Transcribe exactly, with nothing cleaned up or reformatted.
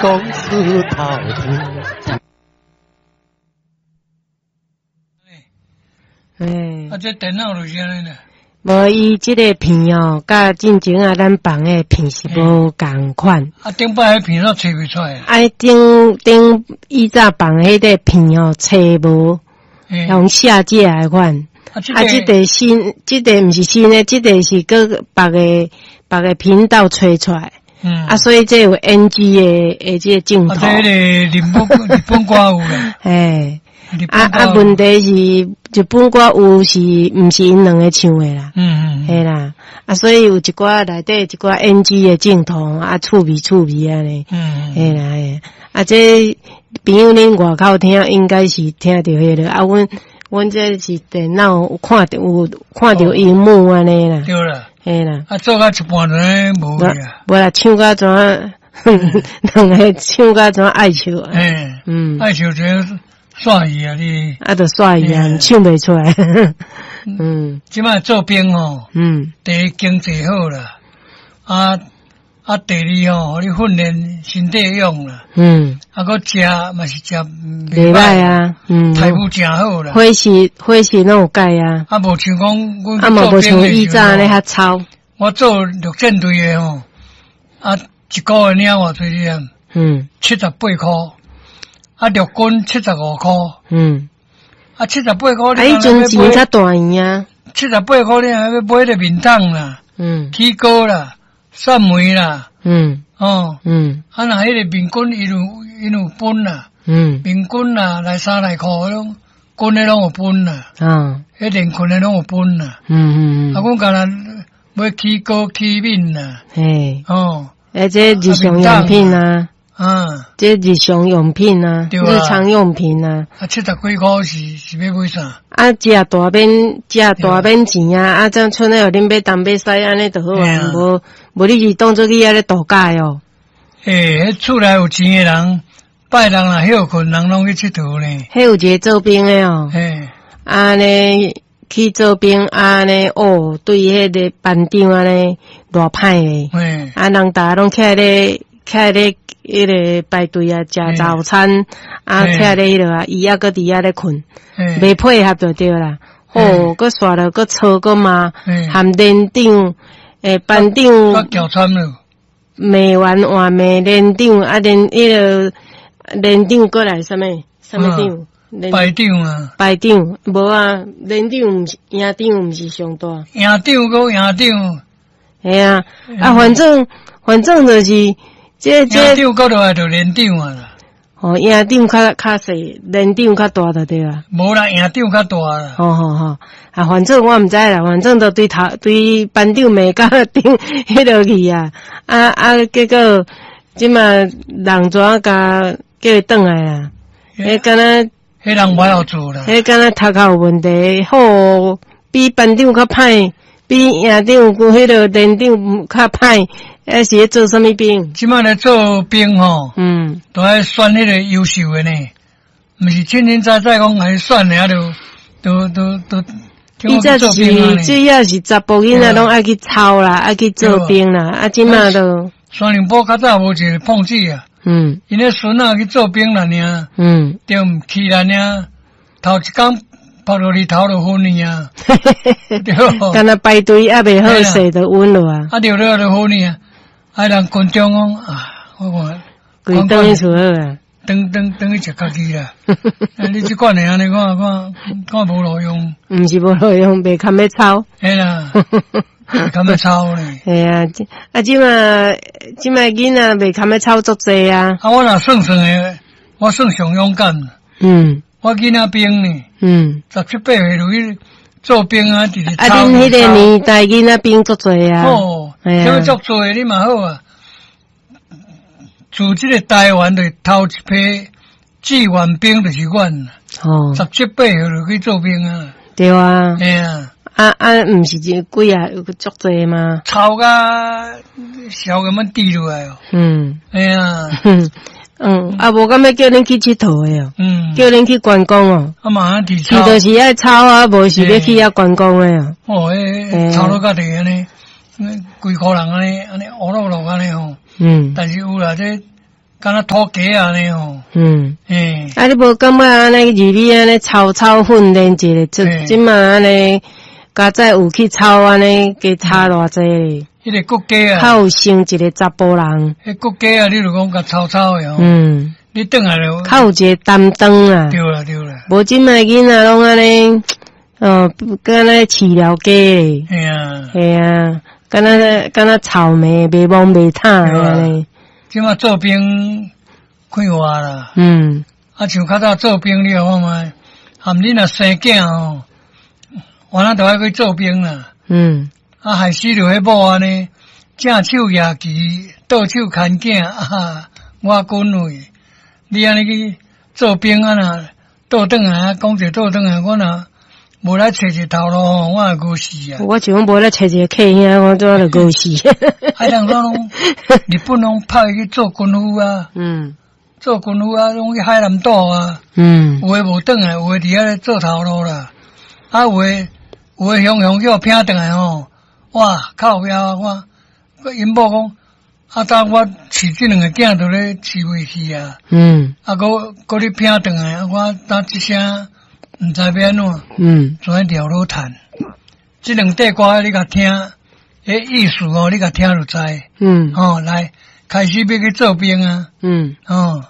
公司头天。欸。啊，這電腦就是按呢啦。無，伊這个片哦，佮進前啊，咱放的片是無仝款。啊，頂擺彼片攏揣袂出來。啊，頂頂以早放彼个片哦，揣無，用下架的款。啊，這个新，這个毋是新的，這个是閣別个別个頻道揣出來。嗯。啊，所以這有 N G 的的這个鏡頭。啊，這个日本日本歌有啦。嘿。啊啊！問題是日本歌有是毋是𪜶兩个唱的啦？嗯嗯，嘿啦。啊，所以有一寡內底一寡 N G 的鏡頭啊，趣味趣味按呢。嗯嘿啦嘿。啊，這朋友恁外口聽應該是聽著彼个啊，阮阮這是電腦有看著有看著螢幕按呢啦。對啦。嘿啦。啊，做到一半就無去啊。無啦，唱到怎啊？兩个唱到怎愛笑啊？嘿，嗯，愛笑這煞去啊！你啊，就煞去啊，唱袂出來。嗯，這擺做兵吼，嗯，第一經濟好啦，啊啊，第二吼，予你訓練身體勇啦，嗯，啊，閣食嘛是食袂歹啊，嗯，待遇誠好啦，伙食伙食攏有改啊，啊，無像講，啊嘛無像以早按呢較糙。我做陸戰隊的吼，啊，一個月領偌濟你知？嗯，七十八箍。啊，陸軍七十五箍。嗯。啊，七十八箍。啊，彼陣錢較大圓啊。七十八箍，你還欲買个麵桶啦，嗯，起糕啦，蒜梅啦，嗯，哦，嗯。啊，若彼个麵棍，伊有伊有分啦，嗯，麵棍啦，內衫內褲彼種，軍的攏有分啦，啊，彼連裙的攏有分啦，嗯嗯嗯。啊，阮干焦買起糕起麵啦，嘿，哦，欸，這日常用品啊。啊，這日常用品啊，日常用品啊。啊，七十幾箍是是欲買啥？啊，食大免食大免錢啊！啊，這賰咧，予恁欲東欲西按呢就好啊。無無，你是當做去遐咧度假哦。欸，彼厝內有錢的人，拜六若歇睏，人攏去𨑨迌呢。彼有一个做兵的哦。嘿，按呢去做兵，按呢哦，對彼个班長按呢偌歹咧。嘿，啊，人逐家攏徛咧徛咧。彼个排隊啊，食早餐啊，徛咧彼落啊，伊猶閣佇遐咧睏，袂配合就對啦。吼，閣煞了，閣吵閣罵，含連長、欸班長，罵完換罵連長，啊連彼个連長閣來啥物？啥物長？排長啊。排長無啊，連長毋是營長，毋是上大。營長閣營長。嘿啊，啊反正反正就是。這這營長閣落來就連長啊啦。哦，營長較較細，連長較大就對啊。無啦，營長較大啦。吼吼吼，啊，反正我毋知啦，反正就對頭對班長罵甲頂彼落去啊，啊啊，結果這馬人怎共叫伊轉來啊？彼敢若，彼人無曉做啦。彼敢若頭殼有問題，好比班長較歹，比營長佮彼个連長較歹。彼是咧做啥物兵？這擺咧做兵吼，嗯，都愛選彼个優秀的呢，毋是清清早早講來選的啊，就都都都。以前是主要是查埔囡仔攏愛去操啦，愛去做兵啦，啊，這擺都。雙林埔較早無一个碰子啊，嗯，𪜶咧孫仔去做兵啦，爾，嗯，對毋去啦，爾，頭一工拍落日頭就昏去啊，對。敢若排隊猶未好勢就暈落啊。啊，對了就昏去啊。啊！人群眾講啊，我看，規轉去厝好啊，轉轉轉去食家己啦。你這款的按呢看看看無路用。毋是無路用，袂堪欲操。嘿啦，袂堪欲操咧。嘿啊，啊，這馬這馬囡仔袂堪欲操足濟啊。啊，我若算算的，我算上勇敢。嗯。我囡仔兵呢？嗯。十七八歲就去做兵啊，直直啊，恁彼个年代囡仔兵足濟啊。哦，啥物足濟你嘛好啊。自這个台灣的頭一批志願兵就是阮。哦。十七八歲就去做兵啊。對啊。嘿啊。啊啊，毋是這幾啊有足濟嗎？臭甲潲共阮滴落來哦。嗯。嘿啊。嗯，啊，無敢欲叫恁去𨑨迌的哦，嗯，叫恁去觀光哦。啊嘛，去去就是愛操啊，無是欲去遐觀光的哦。哦，彼操落家己按呢，規箍人按呢按呢烏落落按呢吼。嗯。但是有啦，這敢若土雞按呢吼。嗯。欸。啊，你無感覺按呢入去按呢操操訓練一下，這這馬按呢，佳哉有去操按呢，加差偌濟咧。彼個國家啊，較有成一個查埔人。彼國家啊，你如講共操操的吼。嗯。你轉來就較有一個擔當啊。對啦對啦。無這馬囡仔攏按呢，哦，敢若飼料雞咧。嘿啊。嘿啊，敢若敢若草莓，袂摸袂探按呢。這馬做兵快活啦。嗯。啊，像較早做兵，你看覓？含恁若生囝吼，原來都愛去做兵啦。嗯。啊，害死著彼某按呢，正手舉旗，倒手牽囝，啊，我滾位。你按呢去做兵啊？若倒轉來，講者倒轉來，我若無來揣一個頭路吼，我會餓死啊！我像講無來揣一個客兄，我怎就餓死。啊，人講攏日本攏派去做軍夫啊，嗯，做軍夫啊，攏去海南島啊，嗯，有的無轉來，有的佇遐咧做頭路啦，啊，有的有的雄雄叫聘轉來吼，哇，靠腰我，𪜶某講，啊，當我飼這兩个囝都咧飼袂去啊，嗯，啊，閣閣你聘轉來，啊，我當這聲毋知欲按怎，嗯，怎了老趁？這兩塊歌你共聽，彼意思哦，你共聽就知，嗯，吼，來開始欲去做兵啊，嗯，哦。